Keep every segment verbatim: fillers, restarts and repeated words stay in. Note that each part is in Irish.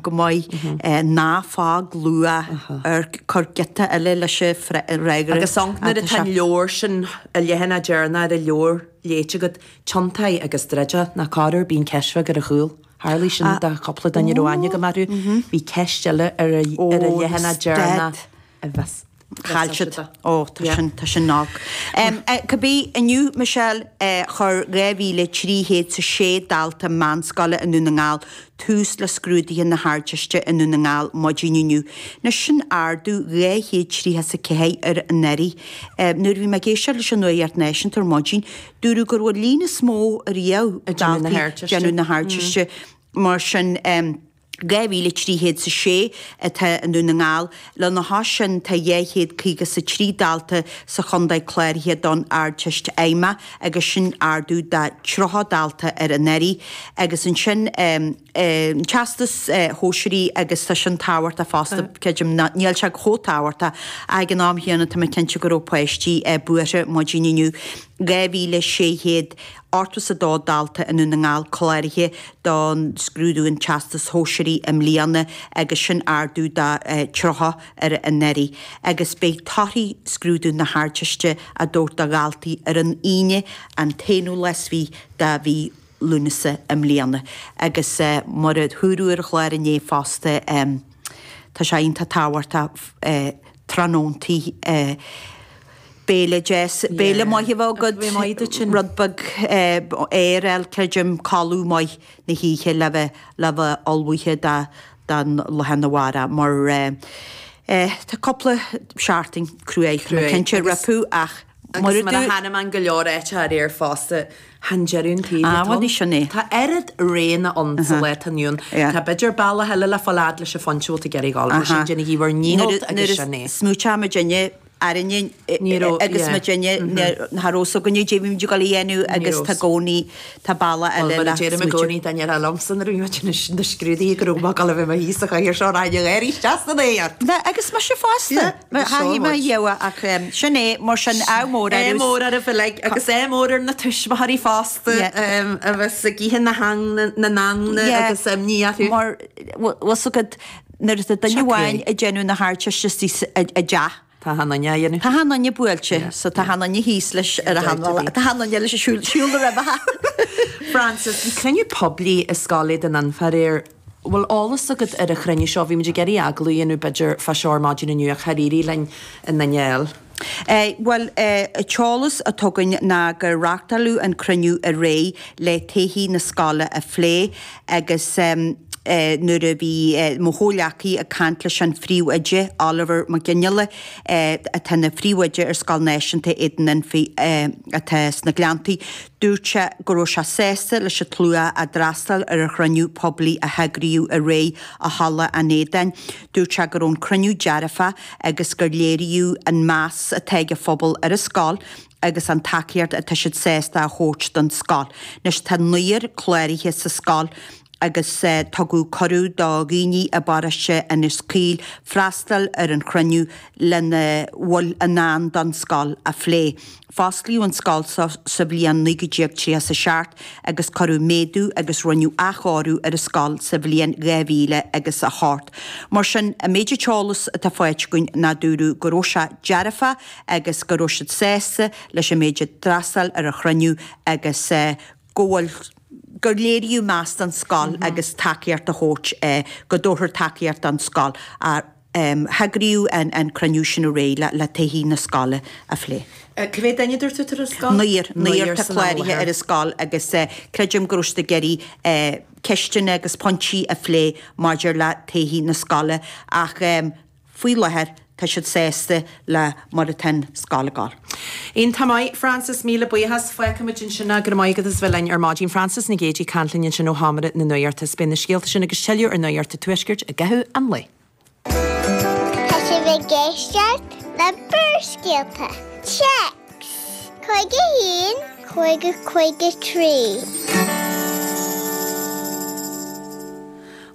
go maith ná fág luath ar cuir giota eile leis an fhreagra. Agus ann nuair atá an leabhar sin, an leathanach deireanach ar an leabhar léite agat, tiontaigh agus druid é, nó corruair bíonn ceist bheag ar a chúl. Tharlaigh sin do chúpla duine a raibh aithne agam orthu. Bhí ceist eile ar an leathanach deireanach a bheas. Chaill siad. Ó, tá sin, tá sin olc. Cibé, inniu, Michelle, chuir dhá mhíle trí chéad 's a sé dalta meánscoile i nDún na nGall tús le scrúduithe na hArdteiste i nDún na nGall maidin inniu. Anois sin ardú dhá chéad tríocha 's a ceathair ar anuraidh. Nuair a bhí mé ag éisteacht leis an Nuacht Náisiúnta ar maidin, dúradh go raibh an líon is mó ariamh daltaí ag déanamh na hArdteiste. Mar sin, dhá mhíle trí chéad 's a sé atá i nDún na nGall. Lena chois sin tá dhá chéad caoga 's a trí dalta sa chontae cláraithe don Ardteist Fheidhmeach agus sin ardú de tríocha dalta ar anuraidh. Agus ansin an Teastas Shóisearaigh agus tá sin tábhachtach fosta, creidim, níl sé chomh tábhachtach ach ag an am chéanna tá mé cinnte go raibh páistí buartha maidin inniu. dhá mhíle sé chéad ochtó 's a dó dalta i nDún na nGall cláraithe don scrúdú an Teastas Shóisearaigh i mbliana agus sin ardú de tríocha ar anuraidh. Agus beidh torthaí scrúdú na hArdteiste á dtabhairt do dhaltaí ar an Aoine an t-aonú lá is fiche de mhí Lúnasa i mbliana. Agus mar a dúradh ar an chlár inné fosta, tá sé iontach tábhachtach tráthnóntaí béile deas, béile maith a bheith agat, rud beag aer a fháil, creidim, codladh maith na hoíche le bheith le bheith ullmhaithe don lá arna mhárach mar tá cúpla seachtain cruaidh, tá mé cinnte rompu ach Agus mar a chonaic mé in go leor áiteacha aréir fosta, chan deireadh an tsaoil atá ann. Sin é. Tá oiread roghanna ann sa lá atá inniu ann. Tá b'fhéidir bealach eile le fáil fhad leis an phointe a bhfuil tú ag iarraidh dhul, mar sin déanaigí bhur ndícheall agus sin é. Nuair a smaoiteoidh muidinne orainne agus muidinne cha raibh fhios againne caidé a bhí muid ag dul a dhéanamh agus tá i gcónaí tá bealach eile le smaoitiú. Bhuel, mar a deirim i gcónaí, dá ndéarfá liomsa nuair a bhí muid na scrúduithe go raibh mé ag dul a bheith i mo shuí sa chathaoir seo raghainn ag gáirí isteach san aer. Agus mise fosta. Thaithí mé dhíobha ach sin é, mar sin, ádh mór oraibh. Ádh mór oraibh uilig agus ádh mór ar na tuismitheoirí fosta a bheas ag ithe na n-angne agus imní orthu. Mar bhfuil fhios agat nuair atá duine amháin ag déanamh na hArdteiste istigh i dteach. Tá achan duine á dhéanamh. Tá achan duine buailte, so tá achan duine thíos leis ar a hanla. Tá achan duine leis ag siúl siúl roimhe. Frances, bhí cruinniú poiblí i Scoil Éadain Fhinne aréir. Bhfuil eolas agat ar an chruinniú seo? Bhí muid ag iarraidh agallamh a dhéanamh b'fhéidir fá seo ar maidin inniu ach char éirigh linn an duine a fháil. Bhuel, an t-eolas atá againn ná gur reáchtáladh an cruinniú aréir le todhchaí na scoile a phlé agus nuair a bhí mo chomhghleacaí ag caint leis an phríomhoide, Oliver Mac Fhionnghaile, atá ina phríomhoide ar Scoil Náisiúnta Éadan Fhinne atá sna Gleanntaí, dúirt sé go raibh sé sásta leis an tslua a d'fhreastail ar an chruinniú poiblí a heagraíodh aréir i Halla an Éadáin. Dúirt sé go raibh an cruinniú dearfach agus gur léiríodh an meas atá ag an phobal ar an scoil agus an tacaíocht atá siad sásta a thabhairt don scoil. Anois tá naonúr cláraithe sa scoil agus tugadh cuireadh do dhaoine i bparóiste Inis Caoil freastal ar an chruinniú lena bhfuil i ndán don scoil a phlé. Fosclaíodh an scoil seo sa bhliain naoi déag tríocha 's a seacht agus cuireadh méadú agus rinneadh athchóiriú ar an scoil sa bhliain dhá mhíle agus a hocht. Mar sin, an méid eolas atá faighte againn ná dúradh go raibh sé dearfach agus go raibh siad sásta leis an méid a d'fhreastail ar an chruinniú agus go bhfuil gur léiríodh meas don scoil agus tacaíocht a thabhairt, go dtabharfar tacaíocht don scoil. Heagraíodh an cruinniú sin aréir le todhchaí na scoile a phlé. Cá mhéad duine a dúirt tú atá ar an scoil? Naonúr, naonúr atá cláraithe ar an scoil agus creidim go raibh siad ag iarraidh ceisteanna agus pointí a phlé maidir le todhchaí na scoile ach Faoi láthair tá siad sásta le mar atá an scoil ag dul. Iontach maith, Frances, míle buíochas. Fágfaimid ansin é. Go raibh maith agat as bheith linn ar maidin. Frances Nic Géadaigh ag caint linn ansin ó sheomra na Nuachta. Beidh na scéalta sin agus tuilleadh ar Nuacht an Tuaiscirt i gcaitheamh an lae. Tá sibh ag éisteacht le Barrscéalta. Téacs, cúig a haon, cúig a cúig a trí.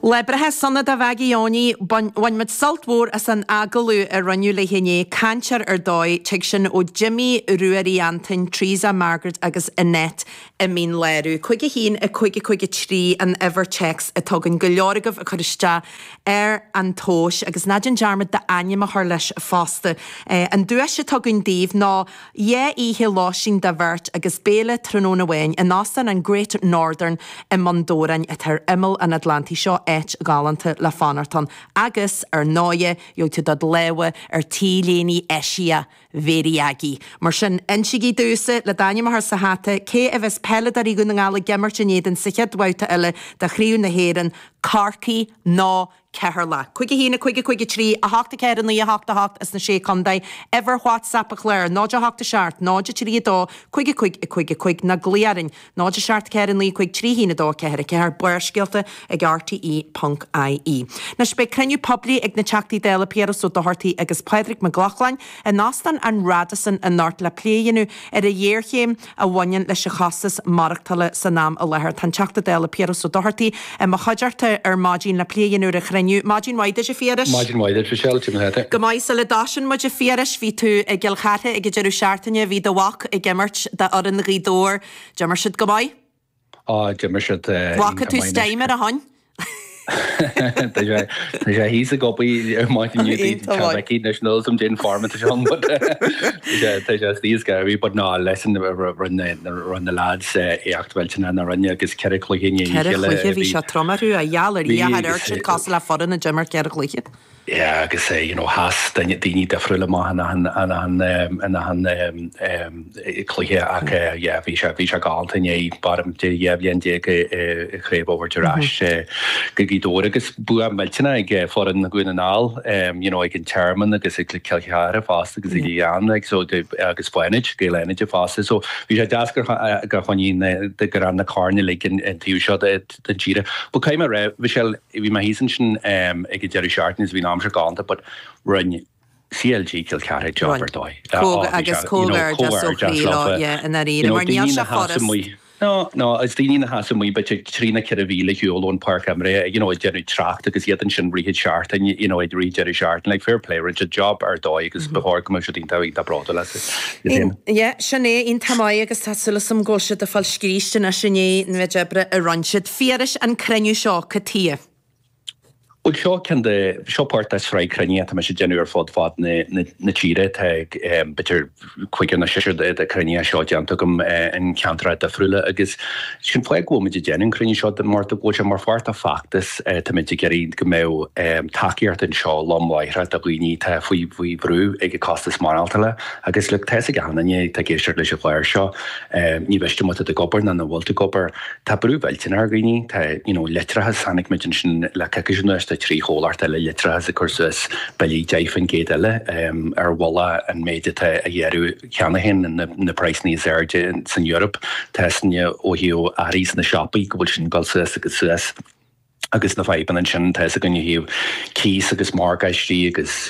Lá breithe sona do Mhaggie Johnny, bhain muid sult mhór as an agallamh a rinneadh léi inné, cainteoir ar dóigh, tig sin ó Jimmy Ruairí Antain, Teresa, Margaret agus Annette i Mín Lárach. Cúig a haon, a cúig a cúig a trí an uimhir téacs atá againn go leor agaibh ag cur isteach ar an tomhas agus ná déan dearmad d'ainm a chur leis fosta. An duais atá againn daoibh ná dhá oíche lóistín do bheirt agus béile tráthnóna amháin in Óstán an Great Northern i mBun Dobhráin atá ar imeall an Atlantaigh. Seo áit ghalánta le fanacht ann agus, ar ndóighe, gheobhaidh tú do lámha ar T-léine eisiach Mhéirí Aggie. Mar sin, insígí domhsa, le d'ainm a chur sa hata, cé a bheas peileadóirí Dhún na nGall ag imirt in éadan sa chéad bhabhta eile de Chraobh na hÉireann, Corcaigh nó Ceatharlach? Cúig a haon, a cúig, a cúig a trí, a hocht a ceathair, a naoi, a hocht a hocht as na Sé Chontae, uimhir WhatsApp an chláir, náid a hocht a seacht, náid a trí a dó, cúig a cúig, a cúig a cúig, nó glaoigh orainn, náid a seacht ceathair a naoi cúig trí haon a dó ceathair a ceathair, Barrscéalta ag rte ponc ie. Anois beidh cruinniú poiblí ag na Teachtaí Dála Piaras Ó Dochartaigh agus Pádraig Mac Lochlainn in Óstán an Radisson anocht le plé a dhéanamh ar an ghéarchéim a bhaineann leis an chostas maireachtála san am i láthair. Tá an Teachta Dála Piaras Ó Dochartaigh i mo chuideachta ar maidin le plé a dhéanamh ar an chruinniú. Maidin mhaith duit a Phiarais. Maidin mhaith duit Michelle, cad é mar atá tú? Go maith, sula dtosaíonn muid a Phiarais, bhí tú i gCill Chartha ag an deireadh seachtaine, bhí do mhac ag imirt d'fhoireann Ghaoth Dobhair, d'imir siad go maith? Á, d'imir siad Bhfaca iontach tú maith steam ar a shon? Tá sé tá sé thíos ag obair ar maidin inniu Iontach maith. Tá anois níl a fhios agam cén form atá sé ann but tá sé tá sé thíos ag obair but ná listen rinne rinne na lads éacht mhillteanach na rinne agus ceithre chluiche i ndiaidh a Ceithre chéile chluiche, bhí bhí sé trom orthu, a gheall ar bhí Dhia, char agus amharc siad cosúil le foireann a d'imir ceithre chluiche. Yeah agus you know sheas duine daoine difriúla amach in achan in achan in achan cluiche ach yeah bhí sé bhí sé galánta inné b'fhearr de dhá bhliain déag i chraobh a thabhairt ar ais go Gaoth Dobhair agus bua millteanach ag foireann Dhún na nGall you know ag an Tearmann agus ag Cill Chartha fosta agus ag An like so agus Fánaid Gaeil Fhánaide fosta so bhí sé deas gur gur choinnigh na gur fhan na coirn uilig an taobh seo den tíre. But caithfidh mé a rá Michelle bhí mé thíos ansin ag an deireadh seachtaine is bhí an aimsir galánta but rinne CLG Cill Chartha job ar dóigh. Agus comhghairdeas ó chroí leo, yeah, i ndáiríre, mar níl sé furast. No, no, is daoine a sheas amuigh b'fhéidir trí nó ceithre mhíle ar shiúl ón páirc imeartha, you know, ag déanamh trácht agus iad ansin rith an seachtain, you know, ag rith deireadh seachtaine, like fair play, rinne siad job ar dóigh agus ba chóir go mbeadh siad iontach iontach bródúil as iad féin. Yeah, sin é, iontach maith agus tá súil agam go bhfuil siad ag fáil scríste anois i ndiaidh an mhéid oibre a rinne siad. Phiarais an cruinniú seo, cad chuige? Bhuel, seo ceann de, seo páirt de shraith cruinnithe atá mise ag déanamh ar fud fad na, na, na tíre. Tá b'fhéidir cúigear nó seisear de, de chruinnithe seo déanta agam in ceantracha difriúla agus sin fáth go bhfuil muid ag déanamh an cruinniú seo mar go bhfuil sé mar pháirt de feachtas. Tá muid ag iarraidh go mbeadh tacaíocht anseo lom láithreach do dhaoine atá faoi, faoi bhrú ag an costas maireachtála agus look, tá fhios ag achan duine atá ag éisteacht leis an chlár seo, ní mhiste má tá tú ag obair nó nach bhfuil tú ag obair, tá brú mhillteanach ar dhaoine, tá, you know, leictreachas, chonaic muid ansin le coicís anuas, tá trí chomhlacht eile leictreachais ag cur suas billí deich faoin gcéad eile ar mhullach an méid atá á ghearradh cheana féin, na praghsanna is airde san Eoraip. Tá a fhios againne ó thaobh earraí sna siopaí go bhfuil sin ag dul suas agus suas agus na fadhbanna ansin, tá a fhios againn ó thaobh cíos agus morgáistí agus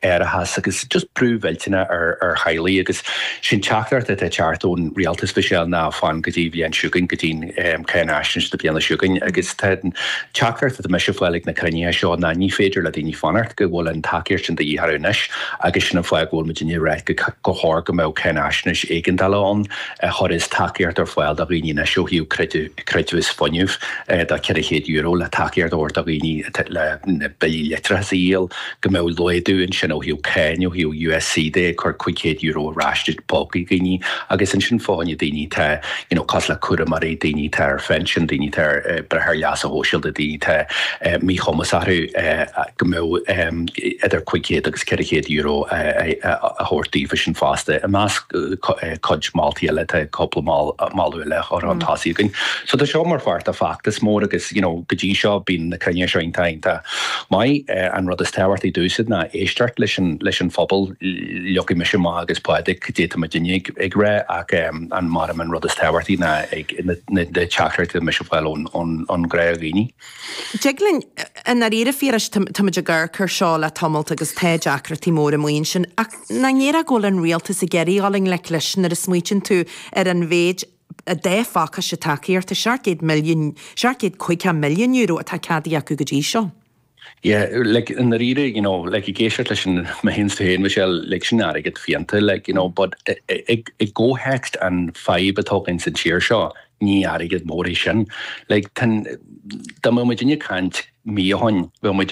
árachas agus just brú mhillteanach ar ar theaghlaigh agus sin teachtaireacht atá ag teacht ón rialtas Michelle ná fan go dtí bhliain seo chugainn, go dtí an cáinaisnéis na bliana seo chugainn agus tá an teachtaireacht atá mise ag fáil ag na cruinnithe seo ná ní féidir le daoine fanacht, go bhfuil an tacaíocht sin de dhíth orthu anois agus sin an fáth go bhfuil muidinne ag rá go chóir go mbeadh cáinaisnéis éigeandála ann a chuirfeas tacaíocht ar fáil do dhaoine anois ó thaobh creidmheas fuinnimh de ceithre chéad euro le tacaíocht a thabhairt do dhaoine le na billí leictreachais a dhíol, go mbeadh laghdú ansin ó thaobh cáin, ó thaobh USC de, ag cur cúig chéad euro ar ais i bpócaí dhaoine agus ansin fá choinne daoine atá you know cosúil le cúramóirí, daoine atá ar phinsean, daoine atá ar breith ar leasa shóisialta, daoine atá míchumas orthu, go mbeadh idir cúig chéad agus ceithre chéad euro a thabhairt daofa sin fosta. I measc cuid moltaí eile tá cúpla moladh eile curtha chun tosaigh againn. So tá seo mar pháirt de feachtas mór agus you know go dtí seo bíonn na cruinnithe seo iontach iontach maith. An rud is tábhachtaí domhsa ná éisteacht leis an leis an phobal. Leagfaidh mise amach agus Pádraig cad é atá muidinne ag ag rá ach an maram an rud is tábhachtaí ná ag na na teachtaireachtaí atá mise ag fáil ón ón ón ghnáthdhaoine. Dtig linn, i ndáiríre Phiarais, tá muid ag amharc air seo le tamalt agus tá deacrachtaí móra amuigh ansin ach nach ndéarfá go bhfuil an rialtas ag iarraidh dul i ngleic leis nuair a smaoitíonn tú ar an mhéid a dá phacáiste tacaíochta seacht gcéad milliún, seacht gcéad caoga milliún euro atá ceadaithe acu go dtí seo. Yeah, like i ndáiríre, you know, like ag éisteacht leis an mé féin féin Michelle, like sin airgead fiánta, like, you know, but i gcomhthéacs an fadhb atá againn san tír seo, ní airgead mór é sin. Like, dá mbeadh muid ag caint mí ó shin, bheadh muid